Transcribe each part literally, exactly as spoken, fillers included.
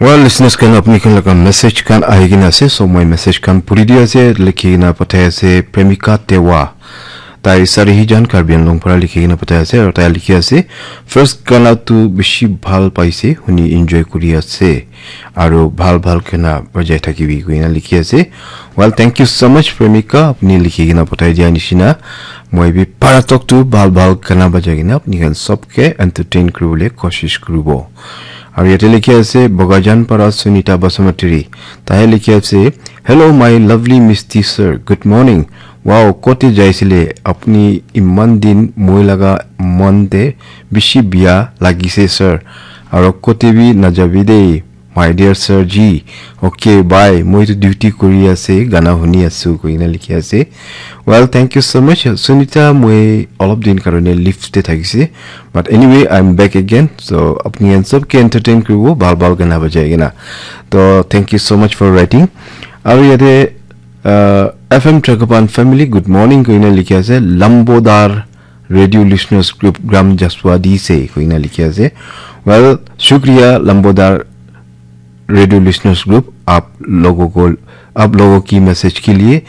Well, listeners khan, apni khan laga message khan ahi kena ase, so moi message khan puri di ase, likhi kena pathai ase Premika Tewa. Tai Sarihijan Karbi Anglong para likhi kena pathai ase, aru tai likhi ase, "First gana tu bishi bhal paise, huni enjoy kuri ase, aru bhal bhal gana bajai thakibi," koina likhi ase. Well, thank you so much, Premika, apni likhi kena pathai dia nishina. Moi bi para tok tu bhal bhal gana bajai kena apni khan sob ke entertain kuribole koshish kuribo. Aru yate likhi ase Bogajan para Sunita Basumatary. Tahe likhi ase, "Hello, my lovely Misty sir. Good morning. Wow, kote jaisile? Apni iman din moi laga mon te bishi biya lagise, sir. Aru kote bi najabi dei, my dear sir ji. Okay, bye. Moi tu duty kuri ase, gana huni asu," koina likhi ase. Well, thank you so much, Sunita. Moi olop din karone leave te thakise. But anyway, I'm back again. So, apni khan sob ke entertain kuribo, bhal bhal gana bajai kena. To, thank you so much for writing. Aru yate, uh, F M Trakapan family, good morning, koina likhi ase. Lambodar Radio Listeners Group, Gram Jaswadi se, koina likhi ase. Well, shukriya, Lambodar Radio Listeners Group, आप लोगों को, आप लोगों की मैसेज के लिए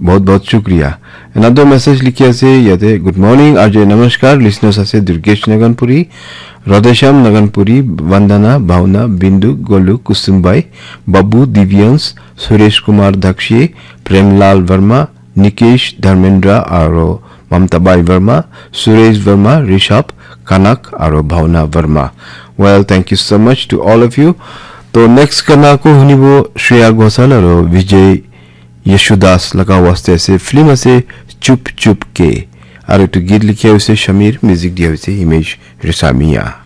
बहुत बहुत शुक्रिया। Another message likhi ase yate, "Good morning, R J, namaskar, listeners ase Durgesh Naganpuri, Radheshyam Naganpuri, Vandana, Bhavna, Bindu, Golu, Kusumbai, Babu, Divyans, Suresh Kumar Dakshi, Premlal Verma, Nikesh, Dharmendra, aro Mamta Bai Verma, Suresh Verma, Rishabh, Kanak, aro Bhavna Verma." Well, thank you so much to all of you. To next gana ko hunibo Shreya Ghosal aro Vijay Yashudas laga waste ase, film ase Chup Chup Ke. Aru etu git likhi ase Shamir, music dia ase Himesh Reshamia.